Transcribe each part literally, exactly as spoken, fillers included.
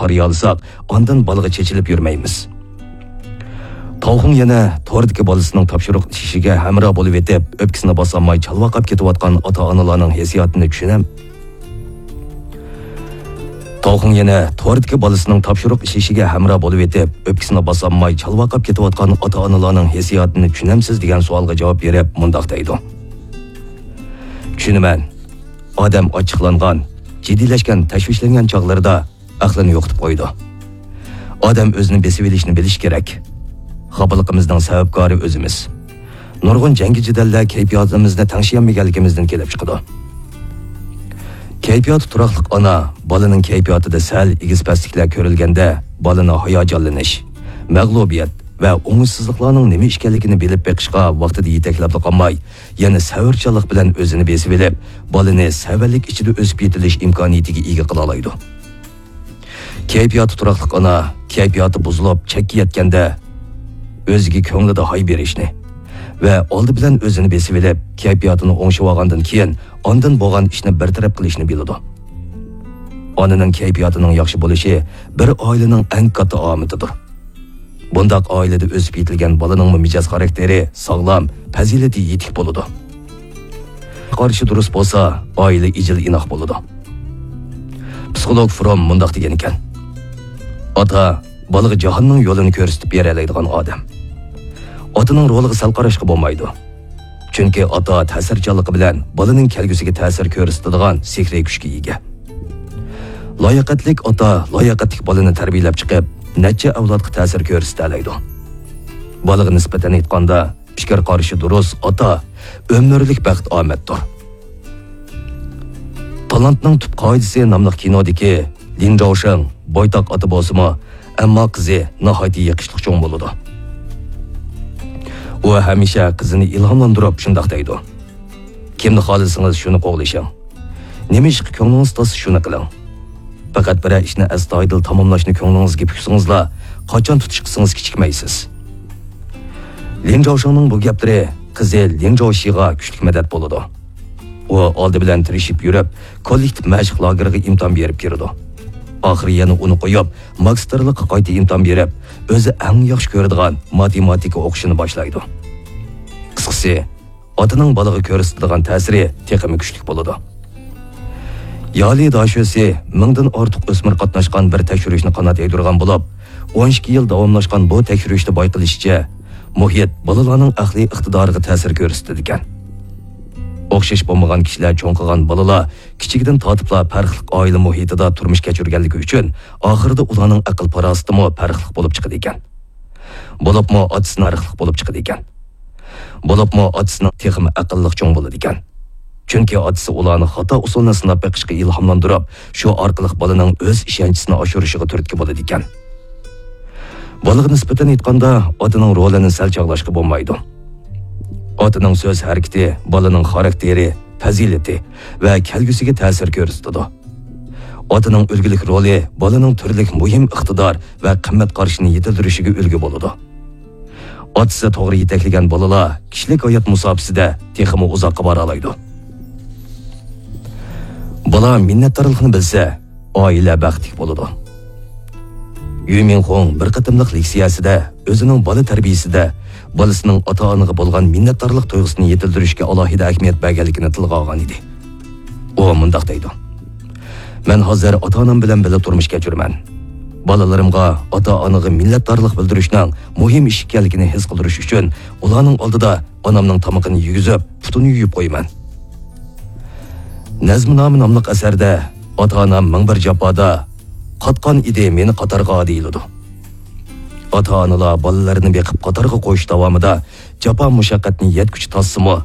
قارىيالىساق، ئاندىن بالىغا چېچىلىپ يۈرمەيمىز. تاۋخۇڭ يەنە توردىكى بالىسىنىڭ تاپشۇرۇق ئىشىگە ھەمراھ بولۇۋېتىپ، ئۆپكىسىنى باسالماي چالۋاقاپ كېتىۋاتقان ئاتا-ئانىلارنىڭ ھېسسىياتىنى چۈشىنەم. تاۋخۇڭ يەنە توردىكى بالىسىنىڭ تاپشۇرۇق ئىشىشىگە ھەمراھ بولۇۋېتىپ، ئۆپكىسىنى باسالماي چالۋاقاپ كېتىۋاتقان ئاتا-ئانىلارنىڭ ھېسسىياتىنى چۈشىنەمسىز؟ دېگەن سوئالغا جاۋاب بېرىپ مۇنداق دەيدۇ. چۈشىنىمەن. ئادەم ئاچچىقلانغان، جىددىيلەشكەن، تەشۋىشلەنگەن چاغلىرىدا ئەقلىنى يوقىتىپ قويىدۇ. ئادەم ئۆزىنى بېسىۋېلىشنى بىلىشى كېرەك. خاپىلىقىمىزنىڭ سەۋەبكارى ئۆزىمىز. نۇرغۇن جەڭگى-جېدەللەر كەيپىياتىمىزنى تەڭشىيەلمىگەنلىكىمىزدىن كېلىپ چىقىدۇ. كەيپىياتى تۇراقلىق ئانا بالىنىڭ كەيپىياتىدا سەل ئېگىز-پەسلىكلەر كۆرۈلگەندە، بالىنى ھاياجانلىنىش، مەغلۇبىيەت ۋە ئوڭۇشسىزلىقلارنىڭ نېمە ئىكەنلىكىنى بىلىپ بېقىشقا ۋاقتىدا يېتەكلەپلا قالماي، يەنە سەۋرچانلىق بىلەن ئۆزىنى بېسىۋېلىپ، بالىنى سەۋەنلىك ئىچىدە ئۆسۈپ يېتىلىش ئىمكانىيىتىگە ئىگە قىلالايدۇ. كەيپىياتى تۇراقلىق ئانا كەيپىياتى بۇزۇلۇپ، چەككە يەتكەندە، ئۆزىگە كۆڭلىدە ھاي بېرىشنى ۋە ئالدى بىلەن ئۆزىنى بېسىۋېلىپ، كەيپىياتىنى ئوڭشىۋالغاندىن كېيىن، ئاندىن بولغان ئىشنى بىر تەرەپ قىلىشنى بىلىدۇ. ئانىنىڭ كەيپىياتىنىڭ ياخشى بولۇشى بىر ئائىلىنىڭ ئەڭ كاتتا ئامىتىدۇر. بۇنداق ئائىلىدە ئۆسۈپ يېتىلگەن بالىنىڭمۇ مىجەز خاراكتېرى ساغلام، پەزىلىتى يېتىك بولىدۇ. قارىشى دۇرۇس بولسا، ئائىلە ئىجىل-ئىناق بولىدۇ. پسىخولوگ فروم مۇنداق دېگەنىكەن: ئاتا بالىغا جاھاننىڭ يولىنى كۆرسىتىپ بېرەلەيدىغان ئادەم. ئاتىنىڭ رولىغا سەل قاراشقا بولمايدۇ. چۈنكى ئاتا تەسىرچانلىقى بىلەن بالىنىڭ كەلگۈسىگە تەسىر كۆرسىتىدىغان سېھرىي كۈچكە ئىگە. لاياقەتلىك ئاتا لاياقەتلىك بالىنى تەربىيەلەپ چىقىپ، نەچچە ئەۋلادقا تەسىر كۆرسىتەلەيدۇ. بالىغا نىسبەتەن ئېيتقاندا، پىكىر قارىشى دۇرۇس ئاتا ئۆمۈرلۈك بەخت-ئامەتتۇر. تالانتنىڭ تۈپ قائىدىسى ناملىق كىنودىكى لىن جاۋشېڭ بويتاق ئاتا بولسىمۇ، ئەمما قىزى ناھايىتى يېقىشلىق چوڭ بولىدۇ. ئۇ ھەمىشە قىزىنى ئىلھاملاندۇرۇپ شۇنداق دەيدۇ: «كىمنى خالىسىڭىز، شۇنى قوغلىشىڭ. نېمە ئىشقا كۆڭلىڭىز تارتسا، شۇنى قىلىڭ. پەقەت بىرەر ئىشنى ئەستايىدىل تاماملاشنى كۆڭلىڭىزگە پۈكسىڭىزلا، قاچان تۇتۇش قىلسىڭىز كېچىكمەيسىز.» لىن جاۋشېڭنىڭ بۇ گەپلىرى قىزى لىن جاۋشىغا كۈچلۈك مەدەت بولىدۇ. ئۇ ئالدى بىلەن تىرىشىپ يۈرۈپ، كوللېكتىپ مەشىق لاگېرىغا ئىمتىھان بېرىپ كىرىدۇ. ئاخىرى يەنە ئۇنى قويۇپ، ماگىستىرلىققا قايتا ئىمتىھان بېرىپ، ئۆزى ئەڭ ياخشى كۆرىدىغان ماتېماتىكا ئوقۇشىنى باشلايدۇ. قىسقىسى، ئاتىنىڭ بالىغا كۆرسىتىدىغان تەسىرى تېخىمۇ كۈچلۈك بولىدۇ. يالى داشۆسى مىڭدىن ئارتۇق ئۆسمۈر قاتناشقان بىر تەكشۈرۈشنى قانات يايدۇرغان بولۇپ، ئون ئىككى يىل داۋاملاشقان بۇ تەكشۈرۈشتە بايقىلىشىچە، مۇھىت بالىلارنىڭ ئەقلىي ئىقتىدارىغا تەسىر كۆرسىتىدىكەن. ئوخشاش بولمىغان كىشىلەر چوڭ قىلغان بالىلار كىچىكىدىن تارتىپلا پەرقلىق ئائىلە مۇھىتىدا تۇرمۇش كەچۈرگەنلىكى ئۈچۈن، ئاخىرىدا ئۇلارنىڭ ئەقىل-پاراسىتىمۇ پەرقلىق بولۇپ چىقىدىكەن. بولۇپمۇ ئاتىسىنىڭ پەرقلىق بولۇپ چىقىدىكەن. بولۇپمۇ ئاتىسىنىڭ تېخىمۇ ئەقىللىق چوڭ بولىدىكەن. چۈنكى ئاتىسى ئۇلارنى خاتا ئۇسۇلنى سىناپ بېقىشقا ئىلھاملاندۇرۇپ، شۇ ئارقىلىق بالىنىڭ ئۆز ئىشەنچىسىنى ئاشۇرۇشىغا تۈرتكە بولىدىكەن. بالىغا نىسبەتەن ئېيتقاندا، ئاتىنىڭ رولىنى سەل چاغلاشقا بولمايدۇ. ئاتىنىڭ سۆز ھەرىكىتى بالىنىڭ خاراكتېرى، پەزىلىتى ۋە كەلگۈسىگە تەسىر كۆرسىتىدۇ. ئاتىنىڭ ئۈلگىلىك رولى بالىنىڭ تۈرلۈك مۇھىم ئىقتىدار ۋە قىممەت قارىشىنى يېتىلدۈرۈشىگە ئۈلگە بولىدۇ. ئاتىسى توغرا يېتەكلىگەن بالىلار كىشىلىك ھايات مۇساپىسىدە تېخىمۇ ئۇزاققا بارالايدۇ. بالا مىننەتدارلىقنى بىلسە، ئائىلە بەختلىك بولىدۇ. يۈ مىنخۇڭ بىر قېتىملىق لېكسىيەسىدە ئۆزىنىڭ بالا تەربىيەسىدە بالىسىنىڭ ئاتا-ئانىغا بولغان مىننەتدارلىق تۇيغۇسىنى يېتىلدۈرۈشكە ئالاھىدە ئەھمىيەت بەرگەنلىكىنى تىلغا ئالغان ئىدى. ئۇ مۇنداق دەيدۇ: «مەن ھازىر ئاتا-ئانام بىلەن بىللە تۇرمۇش كەچۈرىمەن. بالىلىرىمغا ئاتا-ئانىغا مىننەتدارلىق بىلدۈرۈشنىڭ مۇھىم ئىش ئىكەنلىكىنى ھېس قىلدۇرۇش ئۈچۈن ئۇلارنىڭ ئالدىدا ئانامنىڭ تامىقىنى يېگۈزۈپ، پۇتىنى يۇيۇپ قويىمەن. نەزمۇنامە ناملىق ئەسەردە ئاتا-ئانام مىڭ بىر جاپادا قاتقان ئىدى مېنى قاتارغا دېيىلىدۇ. ئاتا-ئانىلار بالىلىرىنى بېقىپ قاتارغا قويۇش داۋامىدا جاپا-مۇشەققەتنى يەتكۈچە تارتسىمۇ،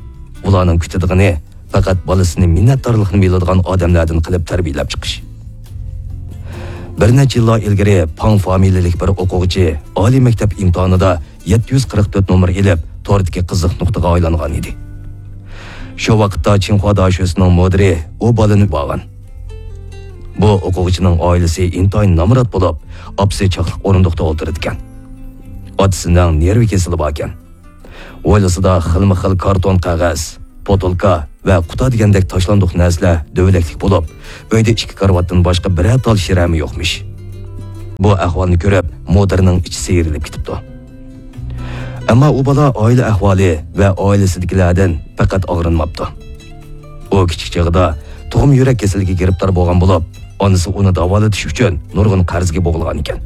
ئۇلارنىڭ كۈتىدىغىنى پەقەت بالىسىنى مىننەتدارلىقنى بىلىدىغان ئادەملەردىن قىلىپ تەربىيەلەپ چىقىش.» بىر نەچچە يىللار ئىلگىرى پاڭ فامىلىلىك بىر ئوقۇغۇچى ئالىي مەكتەپ ئىمتىھانىدا يەتتە يۈز قىرىق تۆت نومۇر ئېلىپ، توردىكى قىزىق نۇقتىغا ئايلانغان ئىدى. شۇ ۋاقىتتا چىڭخۇا داشۆسىنىڭ مۇدىرى ئۇ بالىنى بارغان. بۇ ئوقۇغۇچىنىڭ ئائىلىسى ئىنتايىن نامرات بولۇپ، ئاپىسى چاقلىق ئورۇندۇقتا ئولتۇرىدىكەن. ئاتىسىنىڭ نېرۋا كېسىلى باركەن. ھويلىسىدا خىلمۇ خىل كارتون قەغەز، پوتۇلكا ۋە قۇتا دېگەندەك تاشلاندۇق نەرسىلەر دۆۋىلەكلىك بولۇپ، ئۆيدە ئىككى كارىۋاتتىن باشقا بىرەر تال شىرەمۇ يوقمىش. بۇ ئەھۋالنى كۆرۈپ، مۇدىرنىڭ ئىچى سىيرىلىپ كېتىپتۇ. ئەمما ئۇ بالا ئائىلە ئەھۋالى ۋە ئائىلىسىدىكىلەردىن پەقەت ئاغرىنماپتۇ. ئۇ كىچىك چېغىدا تۇغما يۈرەك كېسىلىگە گىرىپتار بولغان بولۇپ، ئانىسى ئۇنى داۋالىتىش ئۈچۈن نۇرغۇن قەرزگە بوغۇلغان ئىكەن.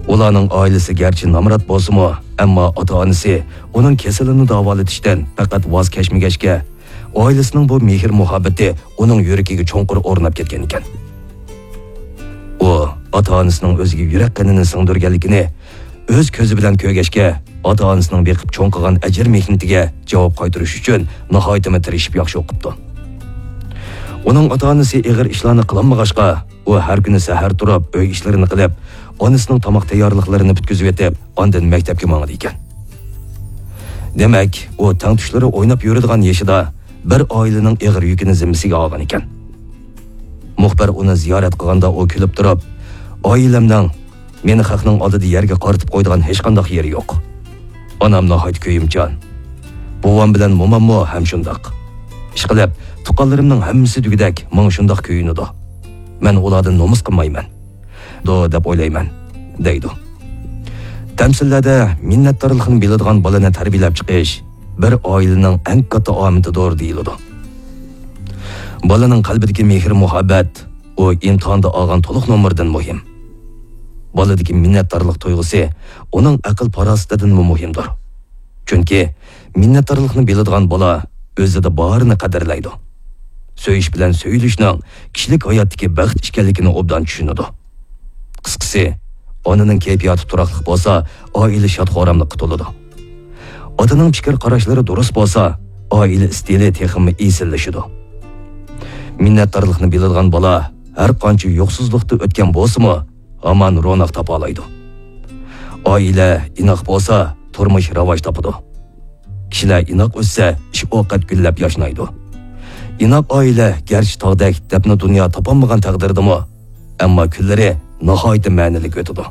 ئۇلارنىڭ ئائىلىسى گەرچە نامرات بولسىمۇ، ئەمما ئاتا-ئانىسى ئۇنىڭ كېسىلىنى داۋالىتىشتىن پەقەت ۋاز كەچمىگەچكە، ئائىلىسىنىڭ بۇ مېھىر-مۇھەببىتى ئۇنىڭ يۈرىكىگە چوڭقۇر ئورناپ كەتكەن ئىكەن. ئۇ ئاتا-ئانىسىنىڭ ئۆزىگە يۈرەك قېنىنى سىڭدۈرگەنلىكىنى ئۆز كۆزى بىلەن كۆرگەچكە، ئاتا-ئانىسىنىڭ بېقىپ چوڭ قىلغان ئەجىر مېھنىتىگە جاۋاب قايتۇرۇش ئۈچۈن ناھايىتىمۇ تىرىشىپ ياخشى ئوقۇپتۇ. ئۇنىڭ ئاتا-ئانىسى ئېغىر ئىشلارنى قىلالمىغاچقا، ئۇ ھەر كۈنى سەھەر تۇرۇپ ئۆي ئىشلىرىنى قىلىپ، ئانىسىنىڭ تاماق تەييارلىقلىرىنى پۈتكۈزۈۋېتىپ، ئاندىن مەكتەپكە ماڭىدىكەن. دېمەك، ئۇ تەڭتۇشلىرى ئويناپ يۈرىدىغان يېشىدا بىر ئائىلىنىڭ ئېغىر يۈكىنى زىممىسىگە ئالغان ئىكەن. مۇخبىر ئۇنى زىيارەت قىلغاندا ئۇ كۈلۈپ تۇرۇپ، «ئائىلەمنىڭ مېنى خەقنىڭ ئالدىدا يەرگە قارىتىپ قويىدىغان ھېچقانداق يېرى يوق. ئانام ناھايىتى كۆيۈمچان. بوۋام بىلەن موماممۇ ھەم شۇنداق. ئىشقىلىپ، تۇغقانلىرىمنىڭ ھەممىسى دېگۈدەك ماڭا شۇنداق كۆيۈنىدۇ. مەن ئۇلاردىن نومۇس قىلمايمەن. دۇ دەپ ئويلايمەن» دەيدۇ. تەمسىللەردە مىننەتدارلىقنى بىلىدىغان بالىنى تەربىيەلەپ چىقىش بىر ئائىلىنىڭ ئەڭ كاتتا ئامىتىدۇر دېيىلىدۇ. بالىنىڭ قەلبىدىكى مېھىر-مۇھەببەت ئۇ ئىمتىھاندا ئالغان تولۇق نومۇردىن مۇھىم. بالىدىكى مىننەتدارلىق تۇيغۇسى ئۇنىڭ ئەقىل-پاراسىتىدىنمۇ مۇھىمدۇر. چۈنكى مىننەتدارلىقنى بىلىدىغان بالا ئۆزىدە بارىنى قەدىرلەيدۇ. سۆيۈش بىلەن سۆيۈلۈشنىڭ كىشىلىك ھاياتتىكى بەخت ئىكەنلىكىنى ئوبدان چۈشىنىدۇ. قىسقىسى، ئانىنىڭ كەيپىياتى تۇراقلىق بولسا، ئائىلە شاد-خۇراملىققا تولىدۇ. ئاتىنىڭ پىكىر-قاراشلىرى دۇرۇس بولسا، ئائىلە ئىستىلى تېخىمۇ ئېسىللىشىدۇ. مىننەتدارلىقنى بىلىدىغان بالا ھەر قانچە يوقسۇزلۇقتا ئۆتكەن بولسىمۇ، ھامان روناق تاپالايدۇ. ئائىلە ئىناق بولسا، تۇرمۇش راۋاج تاپىدۇ. كىشىلەر ئىناق ئۆتسە، ئىش-ئوقەت گۈللەپ ياشنايدۇ. ئىناق ئائىلە گەرچە تاغدەك دەپنە دۇنيا تاپالمىغان تەقدىردىمۇ، ئەمما كۈنلىرى ناھايىتى مەنىلىك ئۆتىدۇ.